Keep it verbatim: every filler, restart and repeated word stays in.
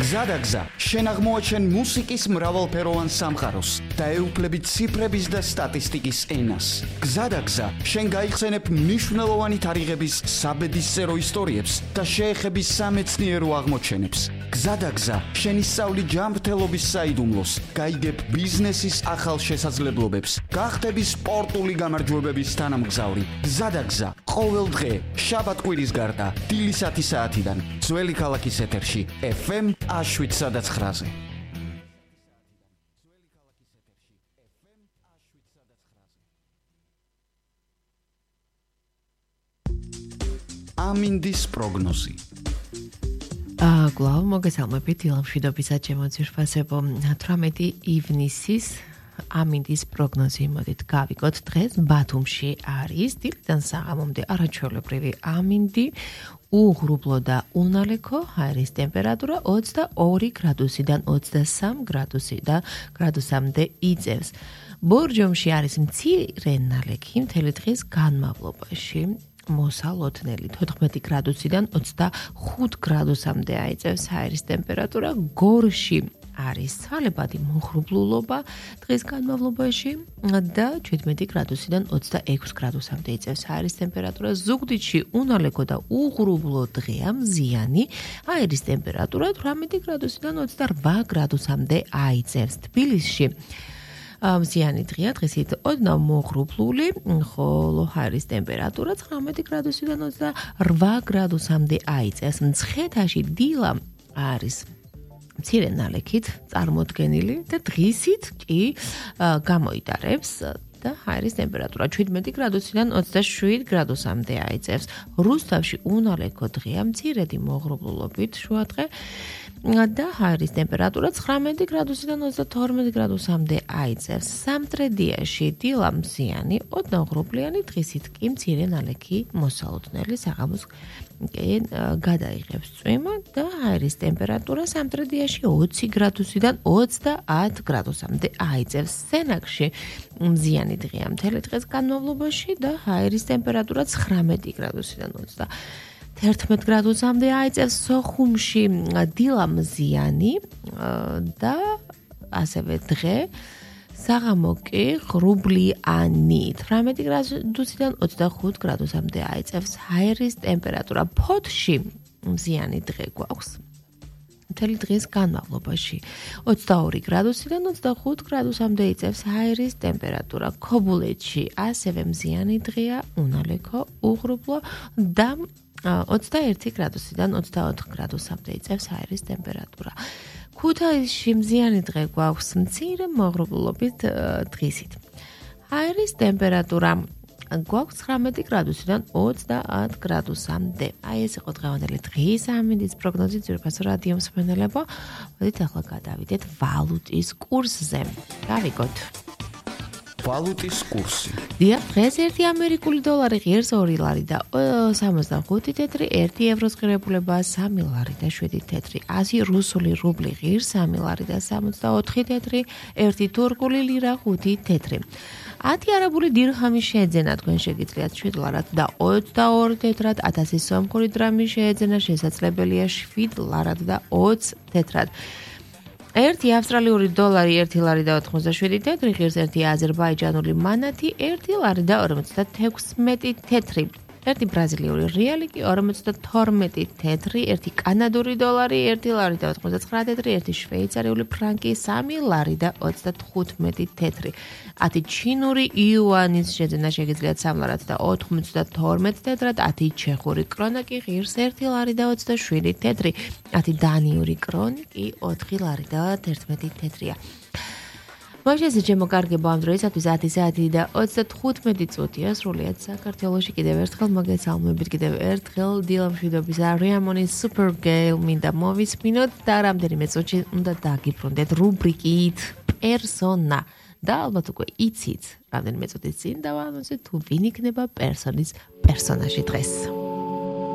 გზადაგზა შენ აღმოაჩენ მუსიკის მრავალფეროვან სამყაროს და ეუფლებით ციფრების და სტატისტიკის ენას. გზადაგზა შენ გაიხსენებ მნიშვნელოვანი თარიღების საბედისწერო ისტორიებს და შეეხები სამეცნიერო აღმოჩენებს. გზადაგზა შენ ისწავლი ჯანმრთელობის საიდუმლოს, გაიგებ ბიზნესის ახალ შესაძლებლობებს, გახდები სპორტული გამარჯვებების თანამგზავრი. გზადაგზა ყოველ დღე შაბათ-კვირის გარდა დილისათი საათიდან ძველი ქალაქის ეთერში ეფ ემ შვიდ სადაც ხრაზე. ამინდის პროგნოზი. აა გლავ მოგესალმებით ილამშვიდობისა ჩემო ძირფასებო თვრამეტი ივნისის ამინდის პროგნოზი მოდით გავიგოთ დღეს ბათუმში არის დილიდან საღამომდე არაჩვეულებრივი ამინდი უღრუბლო და უნალექო ჰაერის ტემპერატურა ოცდაორი გრადუსიდან ოცდასამ გრადუსი და გრადუსამდე იწევს. ბორჯომში არის მცირე ნალექი მთელი დღის განმავლობაში მოსალოდნელი თოთხმეტი გრადუსიდან ოცდახუთ გრადუსამდე აიწევს ჰაერის ტემპერატურა. გორში არის ცვალებადი მოღრუბლულობა დღის განმავლობაში და შვიდმეტი გრადუსიდან ოცდაექვსი გრადუსამდე იწევს ჰაერის ტემპერატურა. ზუგდიდში უნალექო და უღრუბლო დღეა, მზიანი, ჰაერის ტემპერატურა თვრამეტი გრადუსიდან ოცდარვა გრადუსამდე აიწევს. თბილისში მზიანი დღეა, დღისით ოდნავ მოღრუბლული, ხოლო ჰაერის ტემპერატურა ცხრამეტი გრადუსიდან ოცდარვა გრადუსამდე აიწევს. მცხეთაში დილა არის მცირე ნალექით წარმოდგენილი და დღისით კი გამოიტარებს და ჰაერის ტემპერატურა შვიდმეტი გრადუსიდან ოცდაშვიდ გრადუსამდე აიწევს. რუსთავში უნალექო დღეა, მცირედი მოღრუბლულობით შუადღე და ჰაერის ტემპერატურა ცხრამეტი გრადუსიდან ოცდათორმეტ გრადუსამდე აიწევს. სამტრედიაში დილა მზიანი, ოდნავ ღრუბლიანი, დღისით კი მცირე ნალექი მოსალოდნელი საღამოს კი გადაიღებს წვიმა და ჰაერის ტემპერატურა სამტრედიაში ოცი გრადუსიდან ოცდაათ გრადუსამდე აიწევს. სენაკში მზიანი დღეა მთელი დღის განმავლობაში და ჰაერის ტემპერატურა ცხრამეტი გრადუსიდან ოცდაათერთმეტ გრადუსამდე აიწევს. სოხუმში დილა მზიანი და ასევე დღე საღამო კი ღრუბლიანი თვრამეტი გრადუსიდან ოცდახუთ გრადუსამდე აიწევს ჰაერის ტემპერატურა. ფოთში მზიანი დღე გვაქვს მთელი დღის განმავლობაში ოცდაორი გრადუსიდან ოცდახუთ გრადუსამდე იწევს ჰაერის ტემპერატურა. ქობულეთში ასევე მზიანი დღეა, უნალექო, უღრუბლო და ოცდაერთი გრადუსიდან ოცდაოთხ გრადუსამდე იწევს ჰაერის ტემპერატურა. ქუთაისში მზიანი დღე გვაქვს მცირე მოღრუბლულობით დღისით. ჰაერის ტემპერატურა გვაქვს ცხრამეტი გრადუსიდან ოცდაათ გრადუსამდე. აი ეს იყო დღევანდელი დღის ამინდის პროგნოზი ძვირფასო რადიო მსმენელებო. მოდით ახლა გადავიდეთ ვალუტის კურსზე. გავიგოთ. ვალუტის კურსი. დიახ, დღეს ერთი ამერიკული დოლარი ღირს ორი ლარი და სამოცდახუთი თეთრი, ერთი ევროს ღირებულება სამი ლარი და შვიდი თეთრი, ასი რუსული რუბლი ღირს სამი ლარი და სამოცდაოთხი თეთრი, ერთი თურქული ლირა ხუთი თეთრი. ათი არაბული დირჰამი შეეძენა, თქვენ შეგიძლიათ შვიდ ლარად და ოცდაორი თეთრად, ათასი სომხური დრამი შეეძენა, შესაძლებელია შვიდ ლარად და ოც თეთრად. ერთი ავსტრალიური დოლარი ერთი ლარი და ოთხმოცდაშვიდი თეთრი ღირს, ერთი აზერბაიჯანული მანათი ერთი ლარი და ორმოცდათექვსმეტი თეთრი. ერთი ბრაზილიური რეალი კი ორმოცდათორმეტი თეთრი, ერთი კანადური დოლარი ერთი ლარი და ოთხმოცდაცხრა თეთრი, ერთი შვეიცარიული ფრანკი სამი ლარი და ოცდათხუთმეტი თეთრი. ათი ჩინური იუანის შეძენა შეგიძლიათ სამ ლარად და ოთხმოცდათორმეტ თეთრად, ათი ჩეხური კრონა კი ღირს ერთი ლარი და ოცდაშვიდი თეთრი, ათი დანიური კრონი კი ოთხი ლარი და თერთმეტი თეთრია. მოშესე ჩემო კარგებო, ამ დროისათვის ათი საათი და ოცდათხუთმეტი წუთია სრულიად საქართველოში. კიდევ ერთხელ მოგესალმებით, კიდევ ერთხელ დილამშვიდობის არიამონის Supergale მინდა მოვისმინოთ და რამდენიმე წუთში უნდა დაგიბრუნდეთ რუბრიკით პერსონა და ალბათ უკვე იცით რამდენიმე წუთის წინ დავამოწმეთ თუ ვინ იქნება პერსონის პერსონაჟი დღეს.